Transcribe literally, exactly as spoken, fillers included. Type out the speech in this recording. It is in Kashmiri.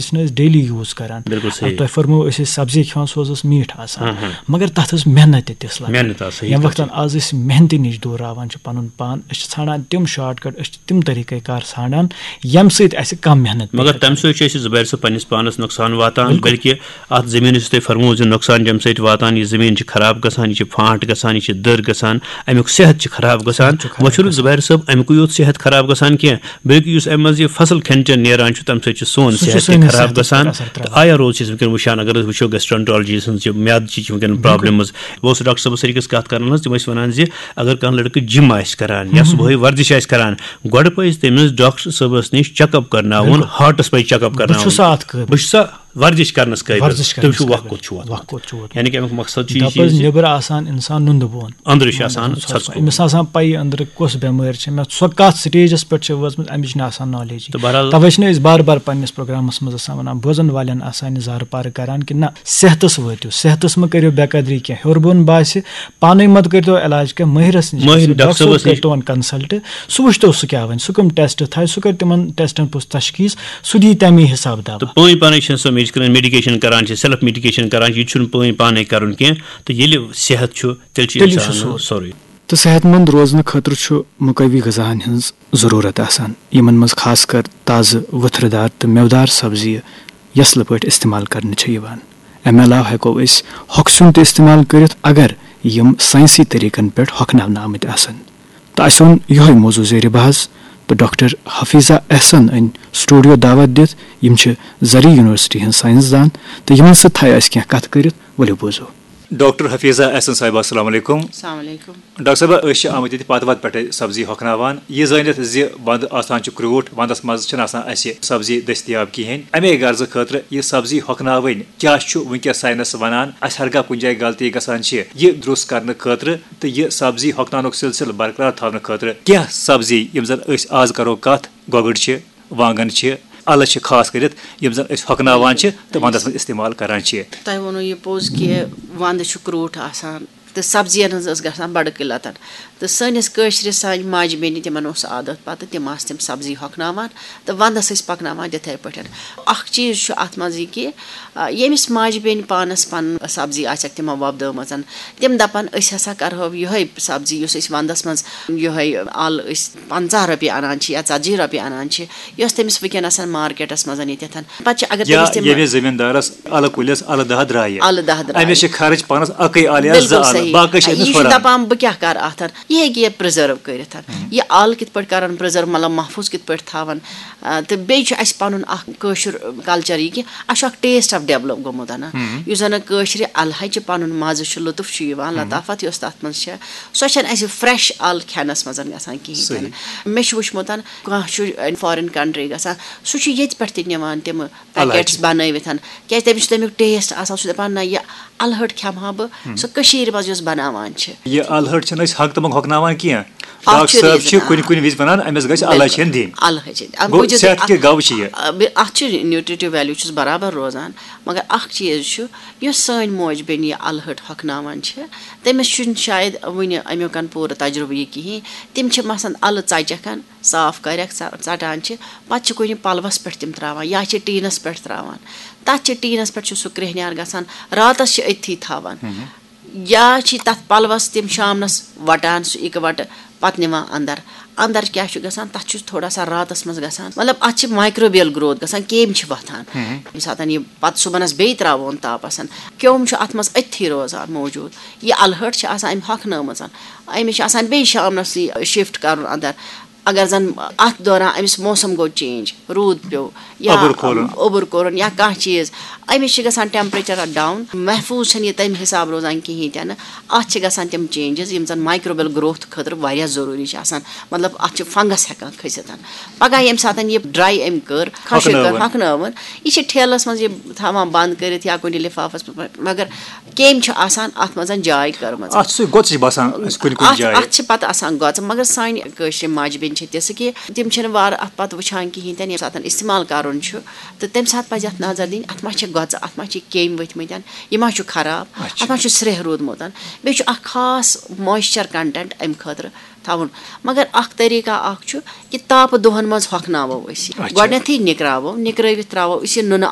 چھِنہٕ أسۍ ڈیلی یوٗز کران۔ بِلکُل صحیح۔ تۄہہِ فرموو، أسۍ ٲسۍ سبزی کھٮ۪وان، سُہ حظ ٲس میٖٹھ آسان، مگر تَتھ ٲس محنت تہِ تِژھ لگان۔ محنت آسان، یہِ ییٚمہِ تہِ وقتن آز أسۍ محنتہِ نِش دوٗراوان چھِ پنُن پان، أسۍ چھِ ژھانڈان تِم شارٹ کٹ، أسۍ چھِ تِم طریٖقے کار ژھانڈان، ییٚمہِ سۭتۍ اَسہِ کم محنت پیٚیہِ مگر کرٕنۍ۔ تَمہِ سۭتۍ چھُ اَسہِ زُبیر صٲب پننِس پانس نۄقصان واتان، بِلکُل۔ بلکہِ اَتھ زٔمیٖنَس یُس تۄہہِ فرموو زِ نۄقصان چھُ اَمہِ سۭتۍ واتان، یہِ زٔمیٖن چھِ خراب گژھان، یہِ چھِ پھانٹ گژھان، یہِ چھِ دٔر گژھان، اَمیُک صحت چھُ خراب گژھان۔ صحت چھُ خراب وۄنۍ چھُنہٕ زُبیر صٲب اَمِکُے یوت صحت خراب گژھان کینٛہہ، بلکہِ یُس اَمہِ منٛز یہِ فصل کھٮ۪ن چٮ۪ن نیران چھُ، تَمہِ سۭتۍ چھُ سون سُہ چھُ صحت تہِ سٲنِس خراب صحتَس پٮ۪ٹھ گژھان۔ اثر ترٛاوان۔ تہٕ آیا روز چھِ أسۍ وٕنکیٚن وٕچھان، اگر أسۍ وٕچھو گیسٹرنٹالجی ہٕنٛز یہِ میادٕ چھِ وٕنکیٚن پرابلمز، بہٕ اوسُس ڈاکٹر صٲبَس سۭتۍ أکِس کَتھ کَران حظ، تِم ٲسۍ وَنان زِ اگر کانٛہہ لٔڑکہٕ جِم آسہِ کَران یا صُبحٲے ورزِش آسہِ کَران، گۄڈٕ پَزِ تٔمِس ڈاکٹر صٲبَس نِش چیک اپ کَرناوُن، بِلکُل۔ ہارٹَس پَزِ چیک اپ بہٕ کَرناوُن۔ چھُسا اَتھ قٲبِل؟ بہٕ چھُسا ورزِش کَرنَس قٲبِل؟ ورزِش تٔمِس چھُ کَرنَس وقت قٲبِل۔ کوٚت چھُ ووتمُت؟ وقت کوٚت چھُ ووتمُت؟ یعنی کہِ اَمیُک مقصد چھُ یہِ دَپہٕ حظ، زِ نٮ۪برٕ آسان اِنسان نُندٕ بون۔ أنٛدرٕ چھِ آسان ژھۄژٕ کُل۔ أمِس آسان پَیی أنٛدرٕ کۄس بٮ۪مٲرۍ چھِ مےٚ، سۄ کَتھ سٹیجَس پٮ۪ٹھ چھِ وٲژمٕژ، اَمِچ نہٕ آسان نالیجی۔ تہٕ بہرحال تَوَے چھِنہٕ أسۍ بار بار پنٛنِس پروگرامَس منٛز آسان وَنان، بوزَن والٮ۪ن آسان یہِ زارٕ پارٕ کَران کہِ نہ، صحتَس وٲتِو، صحتَس مہٕ کٔرِو بے قدری کینٛہہ، ہیوٚر بۄن باسہِ، پانَے مہ کٔرۍتو علاج کینٛہہ، مٲہِرَس نِش مٲہِر گٔژھِو، ڈاکٹر ڈاکٹر صٲب صٲبَس کَرِ نِش۔ تِمَن کنسلٹ، سُہ وٕچھتو سُہ کیٛاہ وَنہِ، سُہ کٕم ٹیسٹ تھایہِ، سُہ کَرِ تِمَن ٹیسٹَن پوٚز تشخیٖص، سُہ دی تَمی حساب دَوا۔ تہٕ پٲنۍ پانَے چھِنہٕ سۄ میڈیکیشن کران چھِ، سیلف میڈیکیشن کران چھِ، یہِ چھُنہٕ پٲنۍ پانَے کرُن کینٛہہ۔ تہٕ ییٚلہِ صحت چھُ، تیٚلہِ چھُ تیٚلہِ چھُ اِنسانَس سورُے۔ سورُے۔ تہٕ صحت مند روزنہٕ خٲطرٕ چھُ مقوی غذاہن ہٕنٛز ضروٗرت آسان، یِمن منٛز خاص کر تازٕ ؤتھرٕ دار تہٕ مٮ۪وٕدار سبزیہِ یسلہٕ پٲٹھۍ استعمال کرنہٕ چھےٚ یِوان۔ امہِ علاوٕ ہٮ۪کو أسۍ ہۄکھٕ سیُن تہِ استعمال کٔرِتھ، اگر یِم ساینسی طریقن پٮ۪ٹھ ہۄکھناونہٕ آمٕتۍ آسن۔ تہٕ اسہِ اوٚن یِہوٚے موضوع زیرِ بحث، تہٕ ڈاکٹر حفیظہ احسن أنۍ سٹوڈیو دعوت دِتھ۔ یِم چھِ زرعی یونیورسٹی ہٕنٛز ساینس دان، تہٕ یِمن سۭتۍ تھایہِ اسہِ کینٛہہ کتھٕ کٔرِتھ۔ ؤلِو بوزو۔ ڈاکٹر حفیظہ احسن صاحبہ، السلام علیکم۔ السلام علیکم۔ ڈاکٹر صٲبہ، أسۍ چھِ آمٕتۍ ییٚتہِ پتہٕ وتہٕ پٮ۪ٹھے سبزی ہۄکھناوان، یہِ زٲنِتھ زِ ونٛدٕ آسان چھُ کرٛوٗٹھ، ونٛدس منٛز چھِنہٕ آسان اَسہِ سبزی دٔستیاب کِہیٖنۍ، اَمے غرضہٕ خٲطرٕ یہِ سبزی ہۄکھناوٕنۍ کیٛاہ چھُ وٕنکیٚس ساینس ونان، اَسہِ ہرگاہ کُنہِ جایہِ غلطی گژھان چھِ، یہِ درُست کرنہٕ خٲطرٕ تہٕ یہِ سبزی ہۄکھناونُک سلسلہٕ برقرار تھاونہٕ خٲطرٕ کینٛہہ سبزی یِم زن أسۍ آز کرو کتھ، گۄگٕر چھِ، وانٛگن چھِ، اَلہٕ چھِ خاص کٔرِتھ، یِم زَن أسۍ ہۄکھناوان چھِ تہٕ وَنٛدَس منٛز اِستعمال کَران چھِ۔ تۄہہِ ووٚنوُ یہِ پوٚز کہِ وَنٛدٕ چھُ کرٛوٗٹھ آسان تہٕ سبزیَن ہٕنٛز ٲس گژھان بَڑٕ قِلَتَن، تہٕ سٲنِس کٲشرِس سانہِ ماجہِ بیٚنہِ تِمَن اوس عادت پَتہٕ تِم آسہٕ تِم سبزی ہۄکھناوان تہٕ وَنٛدَس ٲسۍ پَکناوان تِتھَے پٲٹھۍ۔ اَکھ چیٖز چھُ اَتھ منٛز یہِ کہِ آ، ییٚمِس ماجہِ بیٚنہِ پانَس پَنٕنۍ سبزی آسٮ۪کھ تِمَن وۄپدٲومٕژَن، تِم دَپَن، أسۍ ہسا کَرہو یِہوٚے سبزی، یُس أسۍ وَنٛدَس منٛز یِہوٚے اَل أسۍ پنٛژاہ رۄپیہِ اَنان چھِ یا ژَتجی رۄپیہِ اَنان چھِ، یۄس تٔمِس وٕنکیٚنَس مارکیٹَس منٛز ییٚتٮ۪تھ۔ پَتہٕ چھِ اگر یا تٔمِس تِم ییٚمِس زٔمیٖندارَس اَلہٕ کُلِس اَلہٕ دَہ درٛایہِ، اَلہٕ دَہ درٛایہِ۔ أمِس چھِ خرٕچ پانَس اَکٕے اَلہٕ یا زٕ بِلکُل اَلہٕ، صحیح۔ باقٕے چھِ یہِ أمِس چھُ ہُران۔ دَپان، بہٕ کیٛاہ کَرٕ اَتھ؟ یہِ ہیٚکہِ یہِ پرٛزٔرٕو کٔرِتھ۔ یہِ اَل کِتھ پٲٹھۍ کَرَن پرٛزٔرٕو، مطلب محفوٗظ کِتھ پٲٹھۍ تھاوَن؟ آ، تہٕ بیٚیہِ چھُ اَسہِ پَنُن اَکھ کٲشُر کلچر یہِ کہِ اَسہِ چھُ اَکھ ٹیسٹ اَکھ ڈیولپ گوٚمُت اَنا، یُس زَن کٲشرِ اَلہٕ ہَچہِ پَنُن مَزٕ چھُ، لُطُف چھُ یِوان، لطافت یۄس تَتھ منٛز چھےٚ، سۄ چھَنہٕ اَسہِ فرٛٮ۪ش اَل کھٮ۪نَس منٛز گژھان کِہیٖنۍ تہِ نہٕ۔ مےٚ چھُ وٕچھمُت، کانٛہہ چھُ فارِن کنٹری گژھان، سُہ چھُ ییٚتہِ پٮ۪ٹھ تہِ نِوان تِمہٕ پیکٹس بَنٲوِتھ، کیٛازِ تٔمِس چھُ تَمیُک ٹیسٹ آسان، سُہ چھُ دَپان، نہ، یہِ اَلہٕ ہَٹ کھٮ۪مہٕ ہا بہٕ، سۄ کٔشیٖرِ منٛز یۄس بَناوان چھِ۔ یہِ اَلہٕ ہَٹ چھِنہٕ أسۍ ہَگ تہٕ مۄنٛگ ہۄکھناوان کینٛہہ۔ اَتھ ڈاکٹر چھُ صٲب ریٖزَن، چھِ آ۔ کُنہِ کُنہِ وِزِ وَنان، أمِس گژھِ اَلہٕ ہَچہِ ہَن دِنۍ۔ اَلہٕ ہَچہِ ہَن۔ اَمہِ گوٚو موٗجوٗب صحت اَتھ، کہِ گوٚو چھِ یہِ۔ آ، بِ-، اَتھ چھُ نیوٗٹریٹِو ویلیوٗ چھُس برابر روزان، مگر اَکھ چیٖز چھُ، یۄس سٲنۍ موج بیٚنہِ یہِ اَلہٕ ہَٹ ہۄکھناوان چھِ، تٔمِس چھُنہٕ شاید وٕنہِ اَمیُکَن پوٗرٕ تجرُبہٕ یہِ کِہیٖنۍ۔ تِم چھِ مثلاً اَلہٕ ژَچَکھ ہَن، صاف کَرٮ۪کھ، ژَ-، ژَٹان چھِ، پَتہٕ چھِ کُنہِ پَلوَس پٮ۪ٹھ تِم ترٛاوان یا چھِ ٹیٖنَس پٮ۪ٹھ ترٛاوان۔ تَتھ چھِ ٹیٖنَس پٮ۪ٹھ چھُ سُہ کرٛیٚہنیٛار گژھان، راتَس چھِ أتھی تھاوان۔ یا چھِ تَتھ پَلوَس تِم شامنَس وَٹان، سُہ اِکہٕ وَٹہٕ، پَتہٕ نِوان اَندَر۔ اَندَر کیٛاہ چھُ گژھان؟ تَتھ چھُ تھوڑا سا راتَس منٛز گژھان، مطلب، اَتھ چھِ مایکروبیل گروتھ گژھان، کیٚمۍ چھِ وۄتھان۔ ییٚمہِ ساتَن یہِ پَتہٕ صُبحَنَس بیٚیہِ ترٛاوون تاپَس، کیوٚم چھُ اَتھ منٛز أتھی روزان موٗجوٗد۔ یہِ اَلہٕ ہَٹ چھِ آسان أمۍ ہۄکھنٲومٕژ، أمِس چھِ آسان بیٚیہِ شامنَسٕے شِفٹ کَرُن اَندَر۔ اگر زَن اَتھ دوران أمِس موسم گوٚو چینج، روٗد پیوٚو یا اوٚبُر کھولُن۔ اوٚبُر کوٚرُن یا کانٛہہ چیٖز، أمِس چھِ گژھان ٹیمپریچر ڈاوُن، محفوٗظ چھَنہٕ یہِ تَمہِ حساب روزان کِہیٖنۍ تہِ نہٕ۔ اَتھ چھِ گژھان تِم چینجز یِم زَن مایکروبیل گروتھ خٲطرٕ واریاہ ضروٗری چھِ آسان، مطلب، اَتھ چھِ فنگس ہٮ۪کان کھٔسِتھ۔ پگاہ ییٚمہِ ساتَن یہِ ڈراے أمۍ کٔر، خۄشٕک کٔر، ہۄکھنٲوٕن۔ ہۄکھنٲوٕن، یہِ چھِ ٹھیلَس منٛز یہِ تھاوان بنٛد کٔرِتھ یا کُنہِ لِفافَس منٛز، مگر کیٚمۍ چھِ آسان اَتھ منٛز جاے کٔرمٕژ۔ اَتھ چھُ سُہ گۄژٕج باسان اَسہِ کُنہِ کُنہِ اَتھ جایہِ۔ اَتھ چھِ پَتہٕ آسان گۄژٕ، مگر سانہِ کٲشرِ ماجہِ بیٚنہِ چھِ تِژھٕ کہِ تِم چھِنہٕ وارٕ اَتھ پَتہٕ وٕچھان کِہیٖنۍ تہِ نہٕ، ییٚمہِ ساتَن استعمال کَرُن چھُ، تہٕ تَمہِ ساتہٕ پَزِ اَتھ نظر دِنۍ، اَتھ ما چھِ گۄژٕ، اَتھ ما چھِ کیٚمۍ ؤتھۍ مٕتۍ، یہِ ما چھُ خراب، اَتھ ما چھُ سرٛیٚہہ روٗدمُت۔ بیٚیہِ چھُ اَکھ خاص مویسچر کنٹینٹ اَمہِ خٲطرٕ تھاوُن۔ مگر اَکھ طریٖقہ اَکھ چھُ کہِ تاپہٕ دۄہَن منٛز ہۄکھناوو أسۍ یہِ۔ اچھا۔ گۄڈٕنٮ۪تھٕے نِکراوو، نِکرٲوِتھ ترٛاوو أسۍ یہِ نُنہٕ